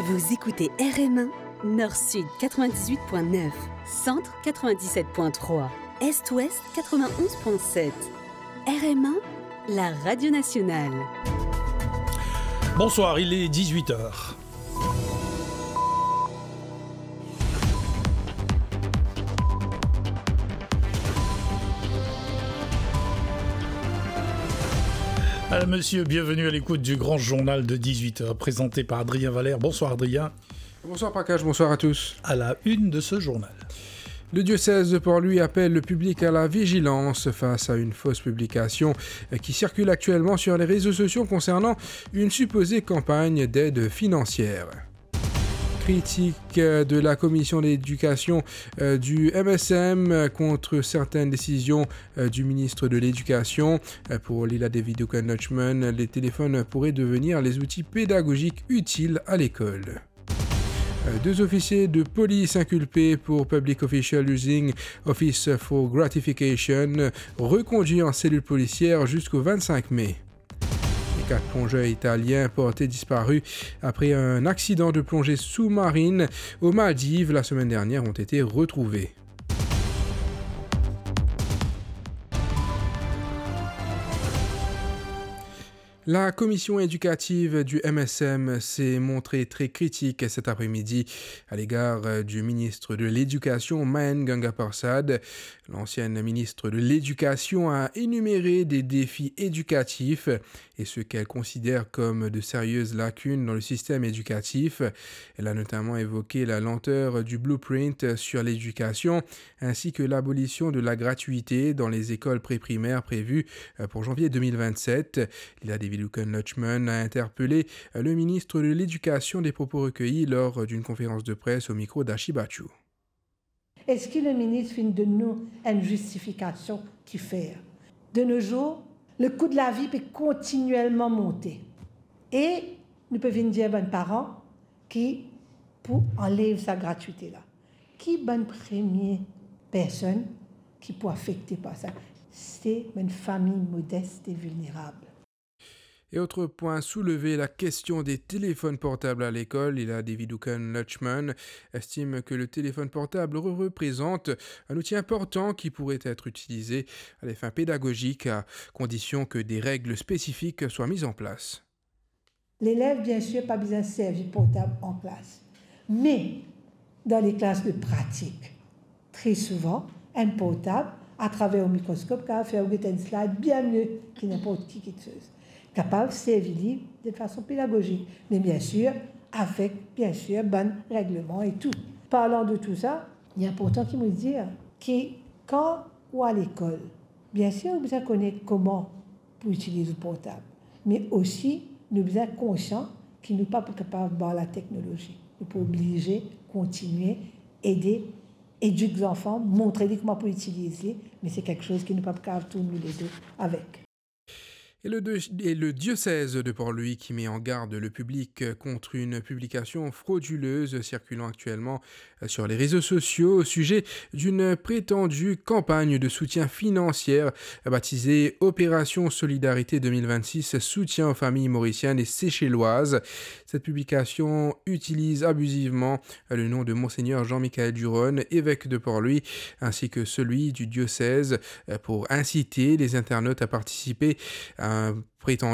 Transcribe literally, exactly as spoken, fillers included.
Vous écoutez R M un, Nord-Sud quatre-vingt-dix-huit point neuf, Centre quatre-vingt-dix-sept point trois, Est-Ouest quatre-vingt-onze point sept. R M un, la radio nationale. Bonsoir, il est dix-huit heures. Alors, monsieur, bienvenue à l'écoute du grand journal de dix-huit heures, présenté par Adrien Valère. Bonsoir, Adrien. Bonsoir, Prakash, bonsoir à tous. À la une de ce journal. Le diocèse de Port-Louis appelle le public à la vigilance face à une fausse publication, euh, qui circule actuellement sur les réseaux sociaux concernant une supposée campagne d'aide financière. Critique, euh, de la commission d'éducation, euh, du M S M, euh, contre certaines décisions, euh, du ministre de l'Éducation. Euh, pour Lila David Oaken-Loachman, les téléphones pourraient devenir les outils pédagogiques utiles à l'école. Euh, deux officiers de police inculpés pour public official using office for gratification, reconduits en cellule policière jusqu'au vingt-cinq mai. Les quatre plongeurs italiens portés disparus après un accident de plongée sous-marine aux Maldives la semaine dernière ont été retrouvés. La commission éducative du M S M s'est montrée très critique cet après-midi à l'égard, euh, du ministre de l'Éducation, Mahen Gangaparsad. L'ancienne ministre de l'Éducation a énuméré des défis éducatifs et ce qu'elle considère comme de sérieuses lacunes dans le système éducatif. Elle a notamment évoqué la lenteur du blueprint sur l'éducation, ainsi que l'abolition de la gratuité dans les écoles pré-primaires prévue, euh, pour janvier deux mille vingt-sept. Lila David Oaken-Loachman a interpellé, euh, le ministre de l'Éducation, des propos recueillis lors d'une conférence de presse au micro d'Ashi Bachoo. Eski le minis finn donn nou enn zistifikasion kifer? De nos jours, le coût de la vie pe kontinielman monte. E nou pe vinn dir bann paran ki pou anlev sa gratwite la. Ki bann premie personn ki pou afekte par sa? Se bann fami modes e vilnerab. Et autre point soulevé, la question des téléphones portables à l'école. Lila David Oaken-Loachman estime que le téléphone portable re-, représente un outil important qui pourrait être utilisé à des fins pédagogiques, à condition que des règles spécifiques soient mises en place. Lelev, biensir, pa bizin servi portab an klas. Me, dan le klas de pratik, tre souvan, enn portab, atraver ou mikroskop, kapav fer ou get enn slide bien mie ki ninport ki kiksoz. Kapav servi li de fason pedagozik, me biensir, avek, biensir, bann regleman e tou. Parlan de tou sa, li inportan ki mo dir ki kan ou al lekol, biensir, ou bizin kone kouma pou itiliz ou portab. Me osi, nou bizin konsian ki nou pa pou kapav bar lateknolozi. Nou pou oblize kontinie ede, edik zanfan, montre li kouma pou itiliz li, me se kiksoz ki nou pa pou kapav tourn nou ledo avek. Et le, et le diocèse de Port-Louis qui met en garde le public contre une publication frauduleuse circulant actuellement sur les réseaux sociaux au sujet d'une prétendue campagne de soutien financier baptisée Opération Solidarité deux mille vingt-six, soutien aux familles mauriciennes et seychelloises. Cette publication utilise abusivement le nom de Monseigneur Jean-Michel Duron, évêque de Port-Louis, ainsi que celui du diocèse, pour inciter les internautes à participer à un prétendu